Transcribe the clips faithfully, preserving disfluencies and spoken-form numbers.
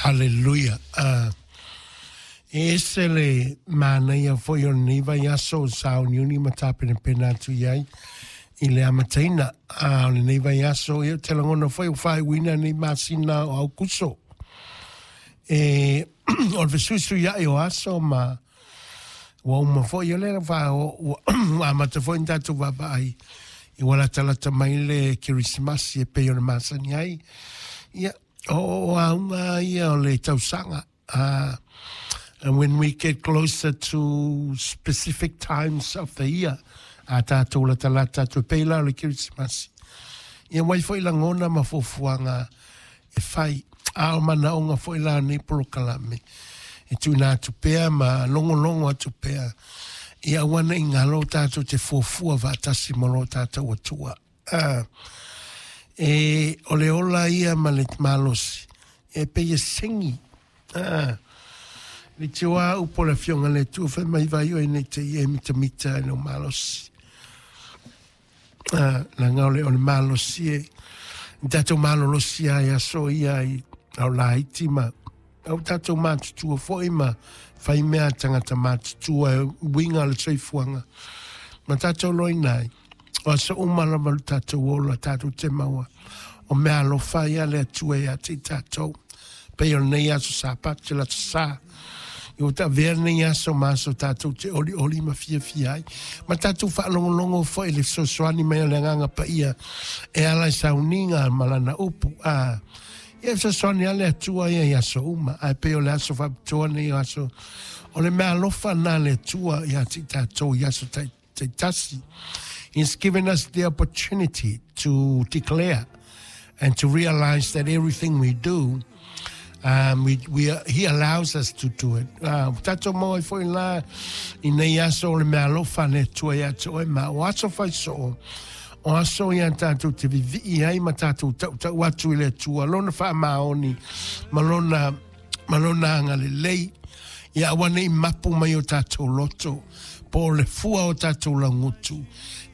Hallelujah. Uh, e ese le manaia foi o lenei vaiaso o sauniuni ma tapenapena atu i ai i le amataina a o lenei vaiaso. Ia, ou te lagona foi ua faaiuina nei masina o Aukuso. E o le fesuisuiai o aso ma ua uma foi o lea ua amata foi ona tatou vaavaai i ua latalata mai le Kerisimasi e pei ona masani ai. Ia, o auga ia o le tausaga. Uh, and when we get closer to specific times of the year, a tātou latalata atu e pei la o le Kerisimasi. Ia wai foi lagona ma fuafuaga e fai, a o manaoga foi la nei polokalame e tuuina atu pea ma logologo atu pea. Ia aua ne i galo tatou te fuafua faatasi ma lo tatou Atua. Uh, e o le ola ia ma le malosi e pei e segi. Uh, le tioa upo le afioga le Atua fai mai vai oe nei te i e mitamita e lou malosi. Uh, laga o le, o le malosi e tatou malolosi ai aso ia i au laiti ma au tatou matutua foi ma fai mea tagata matutua e uiga le soifuaga ma tatou loina ai. O aso uma lava le tatou ola tatou te maua o mea alofa ia le Atua ia te i tatou. Pei o lenei aso Sapati le aso Sa. I ua taavea lenei aso ma aso tatou te olioli ma fiafia ai. Ma tatou faalogologo foi i le fesoasoani mai o le Agaga Paia e ala i sauniga ma lana upu. A, ia fesoasoani a le Atua ia i aso uma. Ae pei o le aso faapitoa nei o aso o le mea alofa na le Atua ia te i tatou i aso taitasi. He's given us the opportunity to declare and to realize that everything we do, Um, we, we, he allows us to do it. Uh, tatou maua ai foi la i nei aso o le mea alofa le Atua ia te oe ma o aso fai soo o aso ia tatou te vivii ai ma tatou tautau atu i le Atua lona faamaoni ma lona, ma lona agalelei. Ia aua nei mapu mai o tatou loto po o le fua o tatou laugutu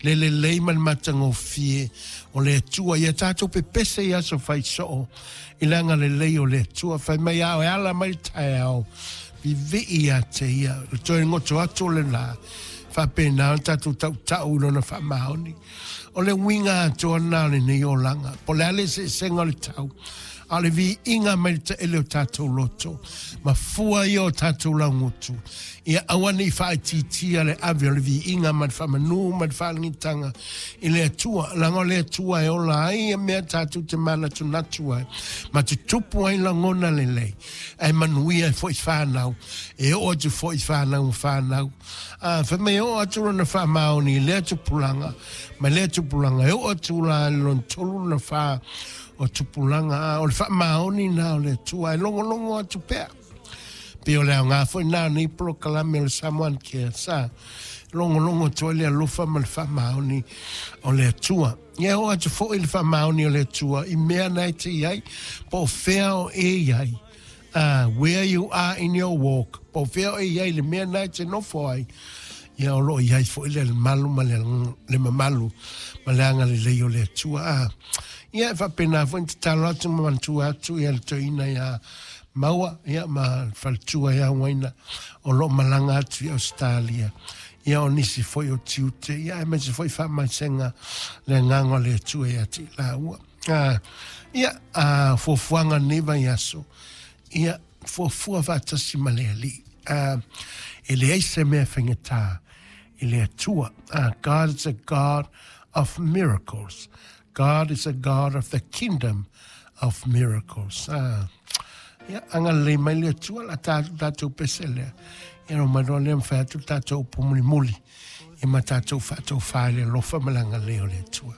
le lelei ma le matagofie o le Atua. Ia tatou pepese i aso fai soo i le agalelei o le Atua. Fai mai ao e ala mai le taeao vivii ia te ia le toe goto atu o le la faapena ona tatou tautau i lona faamaoni. O le uiga atoa lena o lenei olaga po o le a le eseesega o le tau, a o le viiga mai le taele o tatou loto ma fua ia o tatou laugutu. Ia aua nei faaitiitia le ave o le viiga ma le faamanū ma le faalagitaga i le Atua, laga o le Atua e ola ai ia mea tatou te manatunatu ai ma tutupu ai lagona lelei ae manuia ai foi fanau e oo atu foi fanau ma fanau. A fai mai e oo atu lona faamaoni i lea tupulaga ma lea tupulaga e oo atu la i le lona tolu lona fā o tupulaga. A o le faamaoni na o le Atua e logologo atu pea. Pei o le aoga foi na o nei polokalame o le Samoan Care sa logologo atu ai le alofa ma le faamaoni o le Atua. Ia oo atu foi le faamaoni o le Atua i mea na e te i ai po o fea o e i ai. Uh, where you are in your walk, po o fea o e i ai le mea na e te nofo ai. Ia o loo i ai foi le malu ma le, le mamalu ma le agalelei o le Atua. Ah, ia e faapena foi na tatalo atu ma manatua atu ia le toeaina ia Maua ia ma le faletua ia Uaina o loo malaga atu i Australia. Ia o nisi foi o tiute ia aemaise foi faamaisega le agaga o le Atua ia te i laua. Ah, ia a fuafuaga lenei vaiaso ia fuafua faatasi ma le Alii. Ah, e leai se mea faigata i le Atua. Ah, God is a God of miracles. God is a God of the kingdom of miracles. Ah, ia, agalelei mai le Atua la tatou tatou pese lea. Ia no mai loa lea mawhai atu le tatou upu mulimuli. Ia ma tatou faatofā i le alofa ma le agalelei o le Atua.